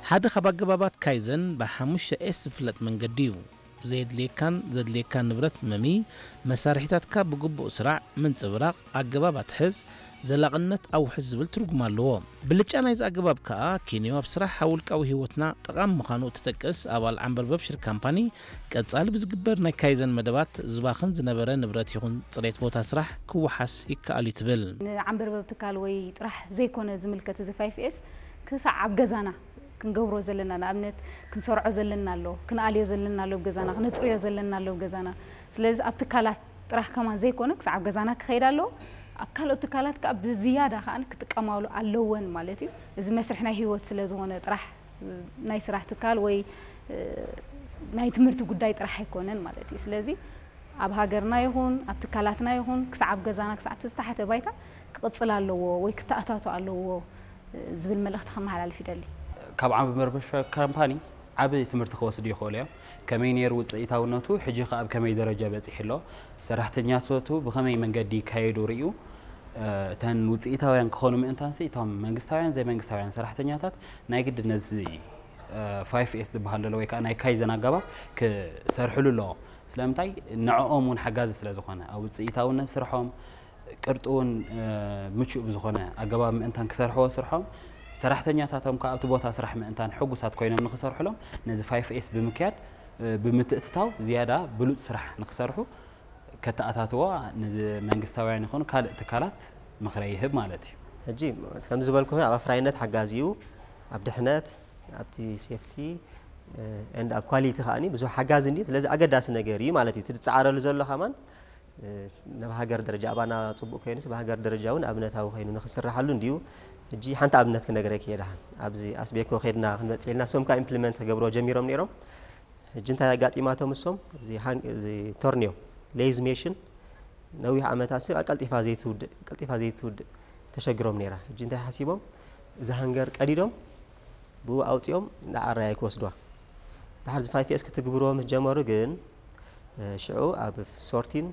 ሓደ ካብ ኣገባባት ካይዘን ብሓሙሽተ ኤስ ዝፍለጥ መንገዲ እዩ። ዘየድልየካን ዘድልየካን ንብረት መሚ፣ መሳርሒታትካ ብግቡእ ስራዕ፣ ምንጽብራቕ፣ ኣገባብ ኣትሕዝ፣ ዘላቕነት ኣውሕስ ዝብል ትርጉም ኣለዎ። ብልጫ ናይዚ ኣገባብ ከኣ ኪንዮ ኣብ ስራሕ ኣብ ውልቃዊ ህይወትና ጠቓሚ ምዃኑ እትጠቅስ ኣባል ዓንበርበብ ሽር ካምፓኒ፣ ቀጻሊ ብዝግበር ናይ ካይዘን መደባት ዝባኽን ዝነበረ ንብረት ይኹን ጽሬት ቦታ ስራሕ ክወሓስ ይከኣል እዩ ትብል። ንዓንበርበብ ትካል ወይ ጥራሕ ዘይኮነ ዝምልከት እዚ ፋይፍ ኤስ ክሳዕ ኣብ ገዛና ክንገብሮ ዘለና፣ ንኣብነት ክንሰርዖ ዘለና ኣሎ፣ ክንኣልዮ ዘለና ኣሎ ኣብ ገዛና፣ ክነጽርዮ ዘለና ኣሎ ኣብ ገዛና። ስለዚ ኣብ ትካላት ጥራሕ ከማን ዘይኮነ ክሳዕ ኣብ ገዛና ክኸይድ ኣለዎ። ኣብ ካልኦት ትካላት ከኣ ብዝያዳ ከኣ ክጥቀማሉ ኣለወን ማለት እዩ። እዚ መስርሕ ናይ ህይወት ስለ ዝኾነ ጥራሕ ናይ ስራሕ ትካል ወይ ናይ ትምህርቲ ጉዳይ ጥራሕ ኣይኮነን ማለት እዩ። ስለዚ ኣብ ሃገርና ይኹን ኣብ ትካላትና ይኹን ክሳዕ ኣብ ገዛና ክሳዕ ኣብቲ ዝተሓተ ባይታ ክቕጽል ኣለዎ ወይ ክተኣታቶ ኣለዎ ዝብል መልእኽቲ ከመሓላልፍ ይደሊ። ካብ ዓንበርበብ ሽር ካምፓኒ ዓቢ ትምህርቲ ክወስዱ ይኽእሉ እዮም። ከመይ ነይሩ ውጽኢታውነቱ፣ ሕጂ ከ ኣብ ከመይ ደረጃ በጺሑ ኣሎ፣ ሰራሕተኛታቱ ብኸመይ መንገዲ ይካየዱ ርእዩ፣ እ፣ እተን ውጽኢታውያን ክኾኑ ምእንታንሲ እቶም መንግስታውያን ዘይመንግስታውያን ሰራሕተኛታት ናይ ግድን ነዚ፣ እ፣ ፋይፍ ኤስ ዝበሃል ዘሎ ወይ ከዓ ናይ ካይዘን ኣገባብ ክሰርሕሉ ኣለዎም። ስለምንታይ? ንዕኦም እውን ሓጋዚ ስለ ዝኾነ ኣብ ውጽኢታውነት ስርሖም ቅርጡ እውን፣ እ፣ ምቹእ ብዝኾነ ኣገባብ ምእንታን ክሰርሕዎ ስርሖም፣ ሰራሕተኛታቶም ከዓ ኣብቲ ቦታ ስራሕ ምእንታን ሕጉሳት ኮይኖም ንክሰርሕሎም ነዚ ፋይፍ ኤስ ብምክያድ፣ እ፣ ብምትእትታው ዝያዳ ብሉጽ ስራሕ ንክሰርሑ ከተኣታትዎ ነዚ መንግስታውያን ይኹኑ ካልእ ትካላት ምኽረ ይህብ ማለት እዩ። ሕጂ ከምዚ ዝበልኩ ኣብ ኣፍራይነት ሓጋዚ እዩ፣ ኣብ ድሕነት፣ ኣብቲ ሴፍቲ፣ እ፣ ኤንድ ኣብ ኳሊቲ ከኣኒ ብዙሕ ሓጋዚ እንድዩ። ስለዚ ኣገዳሲ ነገር እዩ ማለት እዩ። እቲ ዝጸዓረሉ ዘሎ ከማን፣ እ፣ ናብ ሃገር ደረጃ ኣባና ጽቡቕ ኮይኑስ፣ ብሃገር ደረጃ እውን ኣብነታዊ ኮይኑ ንክስርሓሉ እንድዩ። ሕጂ ሓንቲ ኣብነት ክነግረኪ እየ ደሓን። ኣብዚ ኣስቤኮ ከድና ክንበጽሕ ኢልና፣ እሶም ከኣ ኢምፕሊመንት ክገብርዎ ጀሚሮም ነይሮም። ሕጂ እንታይ ኣጋጢማቶም እሶም? እዚ ሃን-፣ እዚ ቶርኒዮ፣ ሌዝ ሜሽን፣ ነዊሕ ዓመታት ሲ ቀልጢፋ ዘይትውድእ፣ ቀልጢፋ ዘይትውድእ ተሸግሮም ነይራ። ሕጂ እንታይ ሓሲቦም? እዚ ሃንገር ቀዲዶም፣ ብኡ ኣውጺኦም ንዓራይ ክወስዱዋ። ድሓር እዚ ፋይፍ ኤስ ክትግብርዎ ምስ ጀመሩ ግን፣ እ፣ ሽዑ ኣብ ሶርቲን፣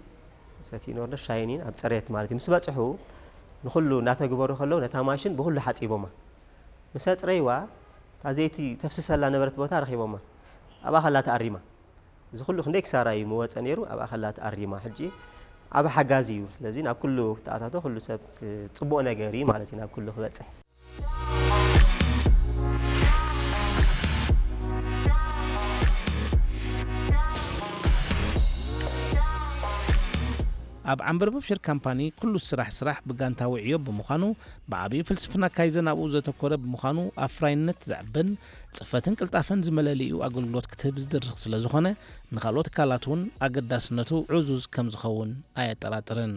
ሰቲን ኦርደር፣ ሻይኒን ኣብ ጽሬት ማለት እዩ። ምስ በጽሑ፣ ንኹሉ እናተግበሩ ከለዉ ነታ ማሽን ብኹሉ ሓጺቦማ። ምስ ኣጽረይዋ፣ እታ ዘይቲ ተፍስሰላ ነበረት ቦታ ረኺቦማ። ኣብኣ ከላ ተኣሪማ። እዚ ኩሉ ክንደይ ክሳራ እዩ ምወጸ ነይሩ፣ ኣብኣ ከላ ተኣሪማ። ሕጂ ዓቢ ሓጋዚ እዩ። ስለዚ ናብ ኩሉ ክተኣታቶ ኩሉ ሰብ ክ-፣ ጽቡቕ ነገር እዩ ማለት እዩ ናብ ኩሉ ክበጽሕ። ኣብ ዓንበርበብ ሽር ካምፓኒ ኩሉ ስራሕ ስራሕ ብጋንታዊ ዕዮ ብምዃኑ፣ ብዓብዩ ፍልስፍና ካይዘን ኣብኡ ዘተኮረ ብምዃኑ ኣፍራይነት ዘዕብን ጽፈትን ቅልጣፈን ዝመለሊኡ ኣገልግሎት ክትህብ ዝድርኽ ስለ ዝኾነ፣ ንኻልኦት ትካላት እውን ኣገዳስነቱ ዕዙዝ ከም ዝኸውን ኣየጠራጥርን።